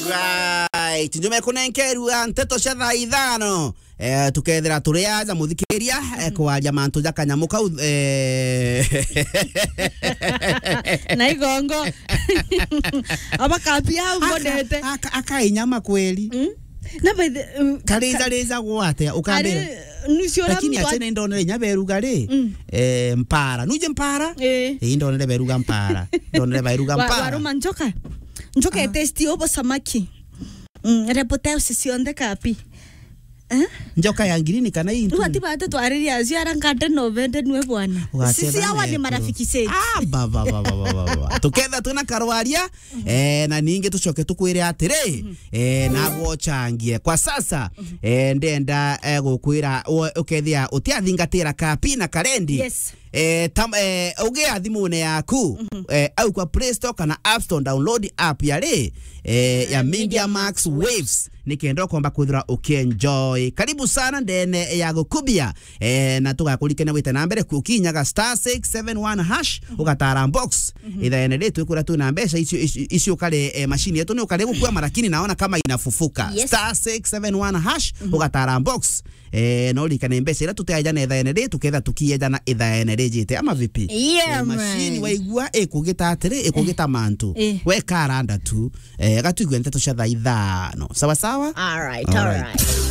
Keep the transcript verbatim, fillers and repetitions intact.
Right, njume kunenkerua nteto cia thaa ithano. Eh, tukethira turi aja muthikiria, eh, kwaria mantu ja kanyamu kau, eh. Na igongo. Aba kapi au Aka-, ngonete. aka-, akainyama kweli. Mm? Na by the, um, Karija rija gwate, ukambire. Ari, nucio ura Lakini mtu ache ni ndonere inya beruga ri, Mm. eh, mpara. Nuje mpara? Eh. Eh, ndonere beruga mpara. Ndonere beruga Wa-, mpara. waruma njoka? Njoka Ah. etesti obo samaki. Mm, repoteusi cionthe kapi. Eh? Njoka ya ngirini kana intu? Riu ati batu twariria acio ara ngate no bende nwe bwana. Ugacheza Sisi hawa ni naye marafiki zetu. Ah, ba, ba, ba. Tuketha twina karwaria, eh, na ningi tucoke tukwire atiri, eh, nagwo changie. Kwa sasa, eh, ndenda, eh, gukwira u-, ukethia utiathingatira kapi na karendi. Yes. Eh, tam-, eh, ugia thimune yaku, eh, au kwa Play Store kana App Store, download app ya ri, eh, ya Media Max Waves, nikenda ukomba kwithira ukienjoy. Karibu sana ndene ya gukubia, eh, na tugakurikania wite na mbere ku-, ukinyaga star six seven one hash, ugatara box. Ithaene ri twikura twina mbeca icio, icio, icio ukare, eh, mashini yetu ni ukare gukwama, lakini naona kama inafufuka. Yes. Star six seven one hash, ugatara box. Eh, no ririkane mbeca iria tuteajana ithaene ri, tuketha tukiejana ithaene rijite, ama vipi? Yeah, Eh, machine man. Waigua ikugita atiri, ikugita mantu. Eh. We karanda tu, eh, gatwigue nteto cia thaa ithano. Sawa sawa? All right, all All right. right.